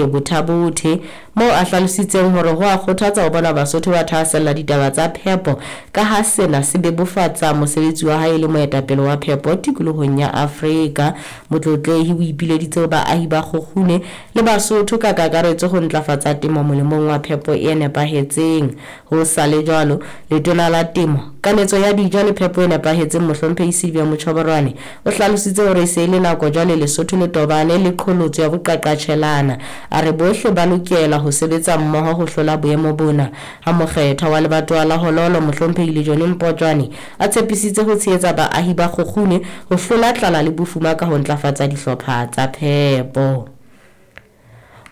Kgokgune Botha-Bothe, moo a hlalositseng hore ho a kgothatsa ho bona Basotho ba thahasella ditaba tsa phepo ka ha sena se bebofatsa mosebetsi wa hae e le moetapele wa phepo tikolohong ya Afrika. Motlotlehi o ipileditse ho baahi ba Kgokgune le Basotho ka kakaretso ho ntlafatsa temo molemong wa phepo e nepahetseng. Ho sa le jwalo, Letona la Temo, Kanetso ya Dijo le Phepo e Nepahetseng Mohlomphehi Sylvia Mochoboroane o hlalositse hore e se e le nako jwale Lesotho le tobane le qholotso ya boqaqatjhelana. A re bohle ba lokela ho sebetsa mmoho ho hlola boemo bona. Ha mokgethwa wa lebatowa la Hololo Mohlomphehi Lejone Mpotjwane a tshepisitse ho tshehetsa baahi ba Kgokgune ho hlola tlala le bofuma ka ho ntlafatsa dihlopha tsa phepo.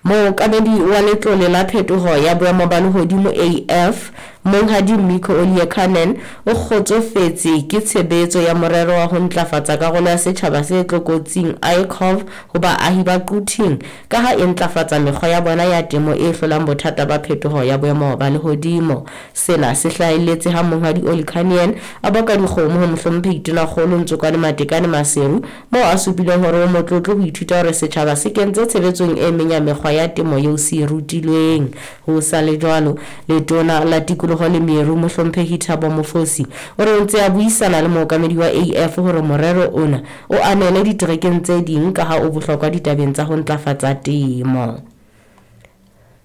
Mookamedi wa Letlole la Phetoho ya Boemo ba Lehodimo, AF, Monghadi Mikko Oliekanen, o kgotsofetse ke tshebetso ya morero wa ho ntlafatsa karolo ya setjhaba se tlokotsing, ICOV, ho baahi ba Quthing ka ha e ntlafatsa mekgwa ya bona ya temo e hlolang bothata ba phetoho ya boemo ba lehodimo. Sena se hlahelletse ha Monghadi Olikanien a boka dikgomo ho Mohlomphehi Tonakgolo Ntsokwane Matekane Maseru moo a supileng hore o motlotlo ho ithuta hore setjhaba se kentse tshebetsong e meng ya mekgwa ya temo eo se e rutilweng. Ho sa le jwalo, Letona la Tikoloho le Meru, Mohlomphehi Thabo Mofosi, o re o ntse a buisana le mookamedi wa AF hore morero ona o anele diterekeng tse ding kaha o bohlokwa ditabeng tsa ho ntlafatsa temo.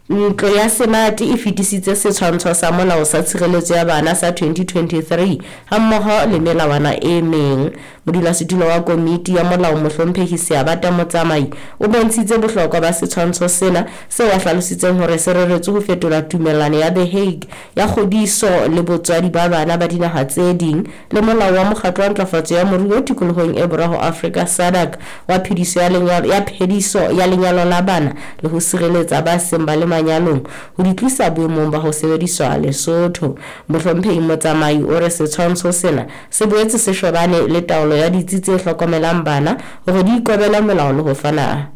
Ntlo ya Senate e fetisitse Setshwantsho sa Molao sa Tshireletso ya Bana sa 2023 hammoho le melawana e meng. Modulasetulo wa Komiti ya Molao Mohlomphehi Seabata Motsamai o bontshitse bohlokwa ba setshwantsho sena seo a hlalositseng hore se reretswe ho fetola Tumellano ya The Hague ya Kgodiso le Botswadi ba Bana ba Dinaha tse Ding le Molao wa Mokgatlo wa Ntlafatso ya Moruo Tikolohong e Borwa ho Afrika, SADC, wa phediso ya lenyalo ya phediso ya lenyalo la bana le ho sireletsa ba seng ba le manyalong ho di tlisa boemong ba ho sebediswa Lesotho. Mohlomphehi Motsamai o re setshwantsho sena se boetse se shebane le taolo ya ditsi tse hlokomelang bana hore di ikobele molao le ho fana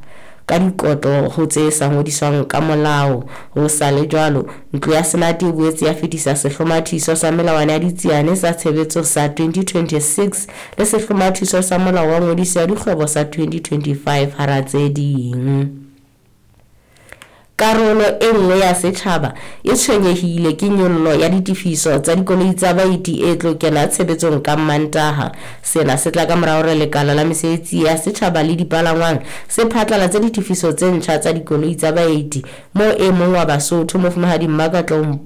ka dikotlo ho tse sa ngodiswang ka molao. Ho sa le jwalo, Ntlo ya Senate e boetse ya fetisa Sehlomathiso sa Melawana ya Ditsiane sa Tshebetso sa 2026 le Sehlomathiso sa Molao wa Ngodiso ya Dikgwebo sa 2025 hara tse ding. Karolo e nngwe ya setjhaba e tshwenyehile ke nyollo ya ditefiso tsa dikoloi tsa baeti e tlo kena tshebetsong ka Mmantaha. Sena se tla ka mora hore lekala la mesebetsi ya setjhaba le dipalangwang se phatlalatse ditefiso tse ntjha tsa dikoloi tsa baeti moo e mong wa Basotho, Mofumahadi Mmakatlou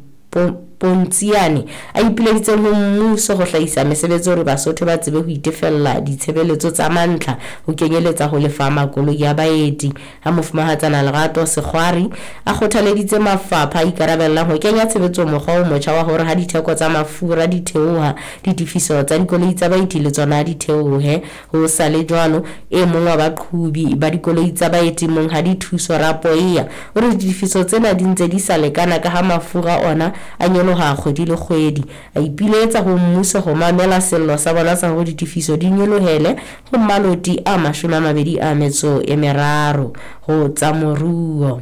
Pontsiane, a ipileditseng ho mmuso ho hlahisa mesebetsi hore Basotho ba tsebe ho itefella ditshebeletso tsa mantlha ho kenyeletsa ho lefa makoloi a baeti. Ha Mofumahatsana Lerato Sekgwari a kgothaleditse mafapha a ikarabellang ho kenya tshebetsong mokgwa o motjha wa hore ha ditheko tsa mafura di theoha, ditefiso tsa dikoloi tsa baeti le tsona di theohe. Ho sa le jwalo, e mong wa baqhobi ba dikoloi tsa baeti Monghadi Thuso Rapoea o re ditefiso tsena di ntse di sa lekana ka ha mafura ona a nyoloha kgwedi le kgwedi. A ipiletsa ho mmuso ho mamela sello sa bona sa hore ditefiso di nyolohele ho maloti a 23 ho tsa moruo.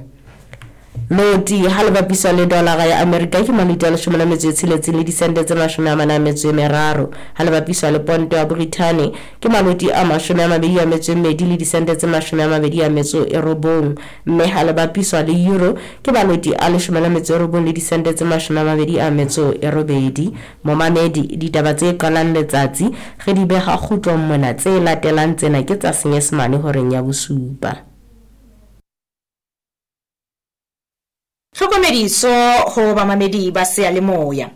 Loti ha le bapiswa le dolara ya Amerika ke maloti a 16 le disente tse 43. Ha le bapiswa le ponto ya Borithane ke maloti a 22 le disente tse 29, mme ha le bapiswa le euro ke maloti a 19 le disente tse 28. Momamedi, ditaba tse qalang letsatsi re di beha kgutlong mona, tse latelang tsena ke tsa Senyesemane horeng ya bosupa. Tlhokomediso ho bamamedi ba seyalemoya.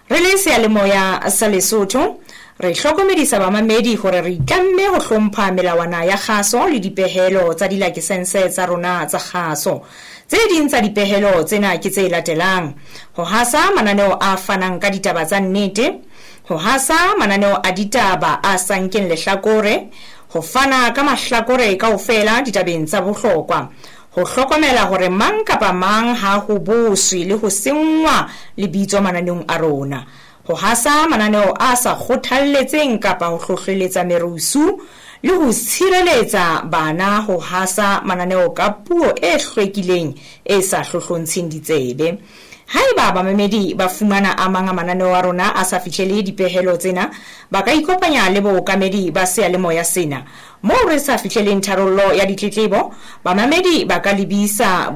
Re le seyalemoya sa Lesotho, re hlokomedisa bamamedi hore re itlamme ho hlompha melawana ya kgaso le dipehelo tsa dilakesense tsa rona tsa kgaso. Tse ding tsa dipehelo tsena ke tse latelang: ho hasa mananeo a fanang ka ditaba tsa nnete, ho hasa mananeo a ditaba a sa nkeng lehlakore, ho fana ka mahlakore kaofela ditabeng tsa bohlokwa, ho hlokomela hore mang kapa mang ha ho boswe le ho senngwa lebitso mananeong a rona, ho hasa mananeo a sa kgothalletseng kapa ho hlohleletsa merusu, le ho tshireletsa bana ho hasa mananeo ka puo e hlwekileng e sa hlohlontsheng ditsebe. Haeba bamamedi ba fumana a mang a mananeo a rona a sa fihlele dipehelo tsena, ba ka ikopanya le bookamedi ba seyalemoya sena. Moo re sa fihleleng tharollo ya ditletlebo, bamamedi ba ka lebisa